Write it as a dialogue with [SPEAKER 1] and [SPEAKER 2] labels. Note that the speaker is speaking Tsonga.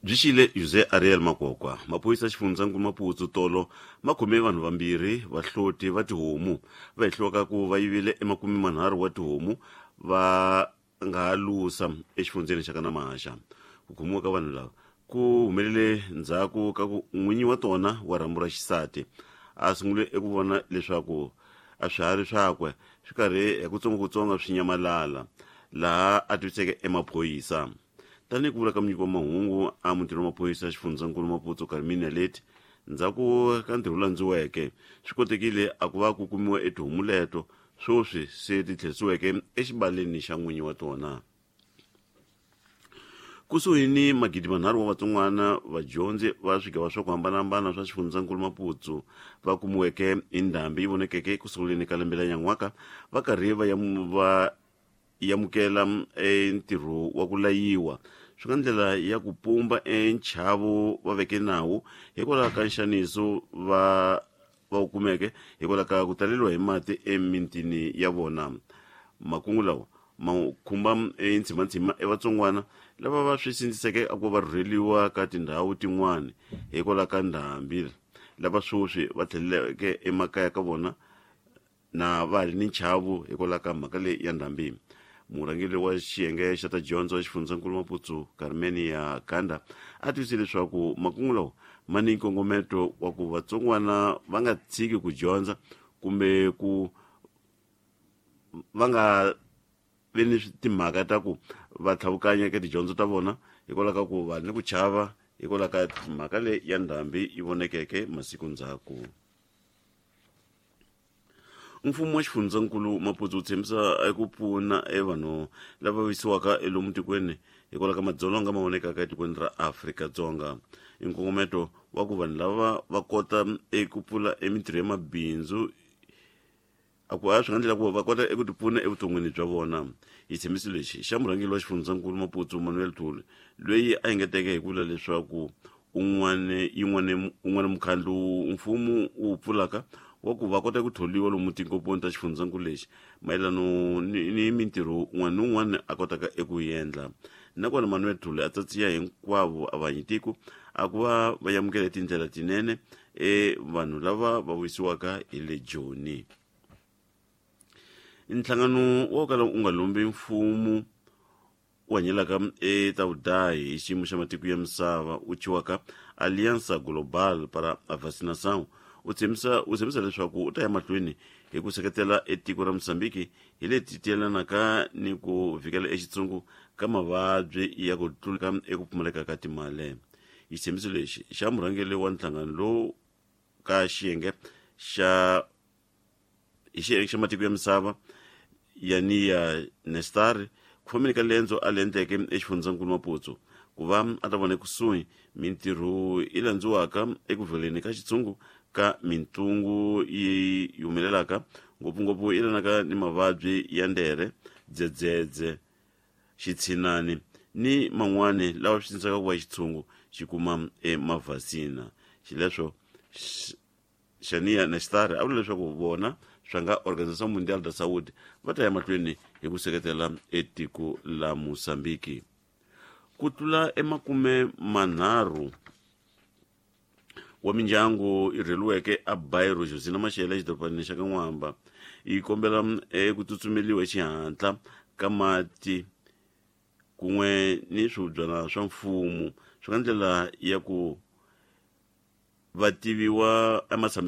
[SPEAKER 1] Byi xile José Ariel Makokwa. Maphorisa xifundzankulu Maputo tolo ma khome vanhu vambirhi vahloti va tihomu va hehliwaka ku va yivile emakume manharhu wa tihomu va nga ha lusa exifundzeni xa ka Namaxa. Ku khomiwa ka vanhu lava ku humelele ndzhaku ka ku n'winyi wa tona wa rhambu ra xisati a sungule eku vona leswaku a swiharhi swakwe swi karhi hi kutsongokutsongo swi nyamalala laha a tiviseke emaphorisa. Tanihi ku vula ka munyiki wa mahungu a mutini wa maphorisa xifundzankulu Maputo Carmine Naleti, ndzhaku ka ntirho landziweke swi kotekile a ku va ku kumiwa etihomu leto sweswi se ti tlherisiweke exibaleni xa n'winyi wa tona. Kusuhi ni 3000 wa vatsongwana vadyondzi va swigava swa ku hambanahambana swa xifundzankulu Maputo va kumiweke hi ndhambi yi vonekeke eku sunguleni ka lembe la nyan'waka va karhi va ya va yamukela entirho wa ku layiwa swi nga ndlela ya ku pumba enchavo va veke nawu hikwalaho ka nxaniso va va wu kumeke hikwalaho ka ku taleriwa hi mati emitini ya vona. Makungu lawa ma khumba entshimantshima evatsongwana lava va swi sindziseke a ku va rhurheliwa ka tindhawu tin'wana hikwalaho ka ndhambi lava sweswi va tlheleleke emakaya ka vona na va ha ri ni nchavo hikwalaho ka mhaka leyi ya ndhambi. Murhangeri wa xiyenge xa ta dyondzo xifundzankulu Maputo Carmenia Ganda a tivise leswaku makungu lawa ma ni nkongometo wa ku vatsongwana va nga tshiki ku dyondza kumbe ku va nga vi ni timhaka ta ku va tlhavukanya eka tidyondzo ta vona hikwalaho ka ku va ni ku chava hikwalaho ka mhaka leyi ya ndhambi yi vonekeke masiku ndzhaku. Mfumo wa xifundzankulu Maputo wu tshembisa eku pfuna evanhu lava vavisiwaka elomu tikweni hikwalaho ka madzolonga ma vonekaka etikweni ra Afrika-Dzonga. I nkongometo wa ku vanhu lava va kota eku pfula emintirho ya mabindzu a ku a swi nga ndlela ku va kota eku tipfuna evuton'wini bya vona. Xitshembiso lexi xa murhangeri wa xifundzankulu Maputo Manuel Thuli loyi a engeteke hi ku vula leswaku un'wana yin'wana un'wana mukhandlu mfumo wu pfulaka wa ku va kota ku tholiwa lomu tinkomponi ta xifundzankulu lexi mayelano ni, ni mintirho un'wana ni un'wana a kotaka eku yi endla. Nakona Manuel Thuli a tsatsiya hinkwavo a vanyitiko a ku va va yamukela tindlela tinene e vanhu lava va vuyisiwaka hi le Joni. Nhlangano wo kala u nga lombi mfumo u hanyelaka eta vudahi hi xiyimo xa matiko ya misava wu thyiwaka Aliança Global para a Vacinação u tshembisa u tshembisa leswaku u ta ya mahlweni hi ku seketela etiko ra Mozambique hi leti tiyelanaka ni ku vhikela exitsungu ka mavabyi ya ku tluleka eku pfumaleka ka timali. Xitshembiso lexi xa murhangeri wa nhlangano lowu ka xiyenge xa hi xiyenge xa matiko ya misava Yania Nestar ku fambeni ka lendzo a le endleke exifundzankulu Maputo ku va a ta vona ekusuhi mintirho yi landziwaka eku vheleni ka xitshungu ka mintungu yi humelelaka ngopfungopfu yi lanaka ni mavabyi ya ndere dzedzedze xitshinani ni man'wani lawa swi sindzisaka ku va xitshungu xi kuma emavhasina. Xileswo Shania Nishtar a vula leswaku vona swa nga Organização Mundial da Saúde va ta ya mahlweni hi ku seketela etiko la Mozambique. Ku tlula emakume manharhu wa mindyangu yi rheliweke a Bairro Josina Machel exidorobanini xa ka N'wamba yi kombela eku tsutsumeliwa hi xihatla ka mati kun'we ni swihubyana swa mfumo swi nga ndlela ya ku va tiviwa ematshamiselo.